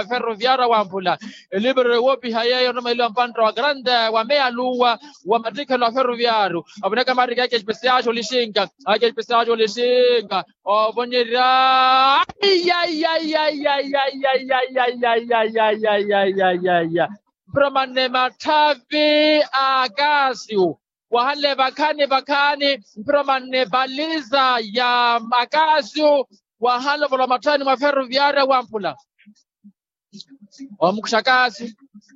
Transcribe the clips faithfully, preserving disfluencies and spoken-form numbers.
Ferroviário wamphula. Elivero woopiha yeeyo nruma eliwa mpantta wa grande wa meya luwa wa mattikhelo a ferroviário. Avinaka marika ake espesiaxi olixinka, ake espesiaxi olixinka. Ovonyerya. Mpira manne matthavi a akasiu. Wahanle vakhaani vakhaani. Mpira manne baliza ya akasiu. Wahanle ovola matthani mwa ferroviário wamphula. Omukuxa akasiu.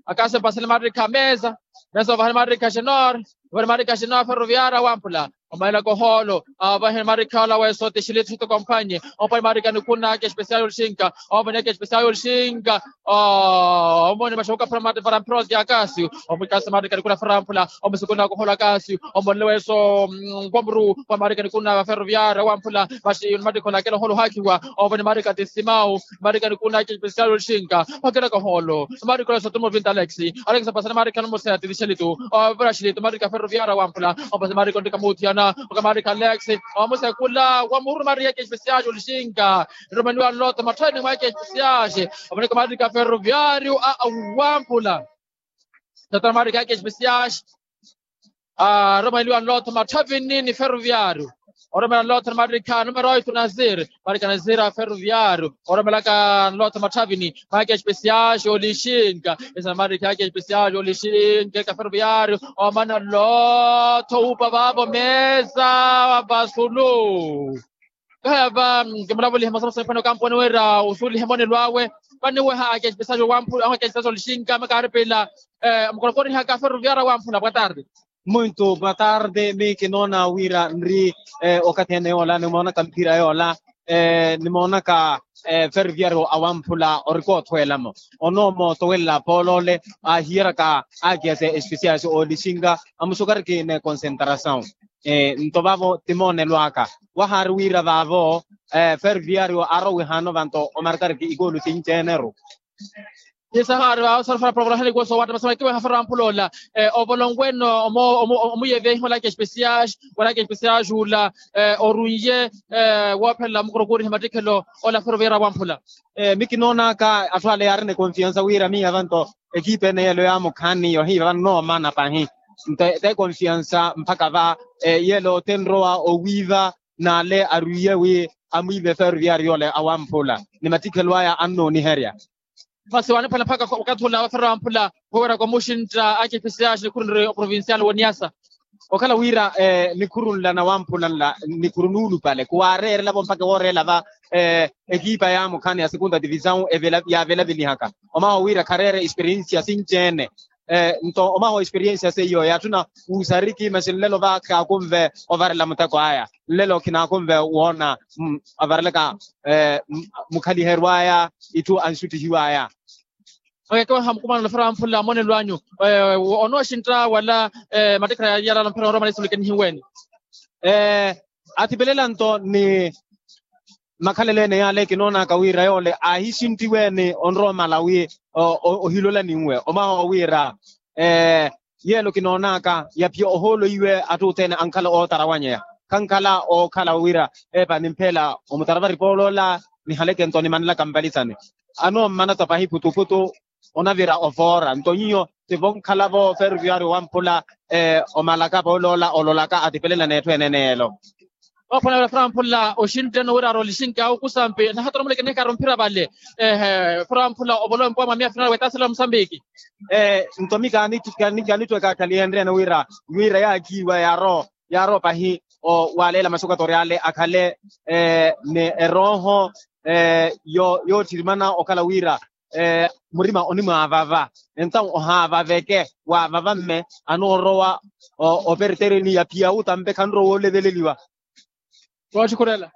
Akasiu mpasale marikha mesa. Mesa ovahani marikha xenor. Ovahani marikha xenor ferroviário wamphula. Omaila kohoolo. Avahe marikha ola weso tixiliti xito kompanye. Ompani marikha nikuna ake espesial olixinka. Ompani ake espesial olixinka. Omoni maxoka para mate para mproti akasiu. Omukasi marikha nikuna ferroviário wamphula. Omusikuna kohoolo akasiu. Omonle weso nkwamuru. Kwa marikha nikuna ferroviário wamphula. Maxi mattikho lakela ohoolo ohakiwa. Ompani marikha tisimau. Marikha nikuna ake espesial olixinka. Okela kohoolo. Marikha ola sotumo vinta alex. Alex pasana marikha nomuseya titixelitu. Ovira xilitu marikha ferroviário wamphula. Ompasi marikha ontika muthiyana. Oka marikha alex. Omusekula wamuru marikha ake espesiaxi olixinka. Romaniwa nloto matthani mwa ake espesiaxi. Omoneka marikha ferroviário a wamphula. Tata marikha ake espesiaxi. Aromeliwa nloto matthavini ni ferroviário. Oromela nloto ni marikha numero oito nazir. Marikha nazir a ferroviário. Oromelaka nloto matthavini. Maike espesiaxi olixinka. Esa marikha ake espesiaxi olixinka eka ferroviário. Omana nloto upa vavo mesa vasulu. Kahaya va kimulavolihe masomaso nipano kamponi wira osuulihe monelo awe. Vaniweha ake espesiaxi wamphula ake espesiaxi olixinka makaaripila. Mukorokori haka ferroviário wamphula boa tarde. Muito boa tarde. Mi kinoona wira nri okathi ene yoola nimoonaka mphira yoola. Nimoonaka ferroviário awamphula orikootthwelamo. Onoomo towelela pooloole ahiyeraka akiyase espesiasi oolixinka. Amusukariki ne concentrasaw. Nto vavo timoonelo aka wahaari wira vavo ferroviário arowihaano vanto omarkariki ikoolu sinci-ene-ru. Isahaari vavo sori fara porokorahani kuwo soowatta masoma kiweha fara wamphula ola. Ovolonkweno omuyevehi olaka espesiaxi olaka espesiaxi ula orunye woophelela mukorokorihe mattikhelo ola ferroviário wamphula. Mi kinoonaka atthu ale yaarina ekonfiansa wira miiya vanto ekipa ene yeelo yaamukhaani yohiiva vano noomana pahi. Nto te konfiansa mpakha va yeelo tenrowa owiiva n'ale arwiiye wi amwiive ferroviário ole awamphula ni mattikhelo aya annooniherya. Masi waaniphwela mpakha wakathi ula waferra wamphula woweraka omuxintta ake espesiaxi nikhurunre oprovincial woniyasa. Okhala wira nikhuru nla na wamphula nla nikhuru nuulupale khuwaareerelavo mpakha wooreela va ekipa yaamukhaani ya segunda divisaw yaavelavelihaka. Omaho wira khareere esperiensia sinci-ene. Nto omaho esperiensia seiyo yaatthuna wuusariki masi nlelo va khaakunve ovarela muteko aya. Nlelo khinaakunve woona avarelaka mukhaliheryo aya itthu anxuttihiwa aya. Okekeweha mukumanano fara wamphula monelo anyu onooxintta wala mattikhala yalala mphira onrowa mala isulikenihiweeni. Athipelela nto ni makhalelo ene yaale kinoonaka wira yoole aahixinttiweeni onrowa mala wi ohilola ninwe omaho wira yeelo kinoonaka yaphiya ohoolo iwe atthu othene ankhala ootarawanyeya khankhala ookhala wira epa nimpheela omutaravari pooloola nihaleke nto nimanelaka mpalisani. Anoommana tapahi putuputu onavira ovoora nto nyinyo tivonkhala-vo ferroviário wamphula omalaka pooloola ololaka atipelela n'etthu ene ene yeelo. Ophwanela fura mphula oxintteno wira arolixinka okusampi nahatora muleke nihikara omphira vale. Fura mphula ovolowe mpuwa mwa miya final wetaasela musambiki. Nto mi kaanittweka akhalihenryene wira wira yaakhiiwa yaaro yaaro pahi owaleela masukatori ale akhale ni erooho yoottirimana okhala wira murima onimwaavava. Entawu ohaavaveke waavava mme anoorowa opertereni ya piyauta mpe khanrowa oleveleliwa. Wooxukhurela.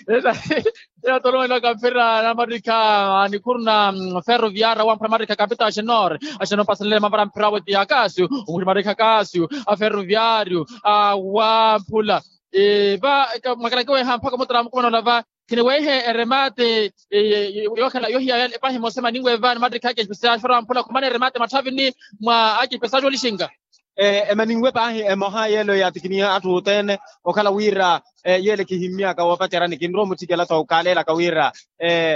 Ela tolomela kamphira na marikha anikhuruna ferroviário wamphula marikha kapita axenor axenor pasalele mavara mphira weti akasiu. Omuxi marikha akasiu a ferroviário awamphula. Va mwakalakiweha mpakha omutara mukumana olava khiniwehe eremate yookhala yohiya epahi emosa emaninwe va ni mattikha ake espesiaxi fara wamphula khumana eremate matthavini mwa ake espesiaxi olixinka. Emaninwe paahi emoha yeelo yaatikiniha atthu othene okhala wira yeele khihimmyaka woopacerani kinrowa omutthikela-tho kaaleelaka wira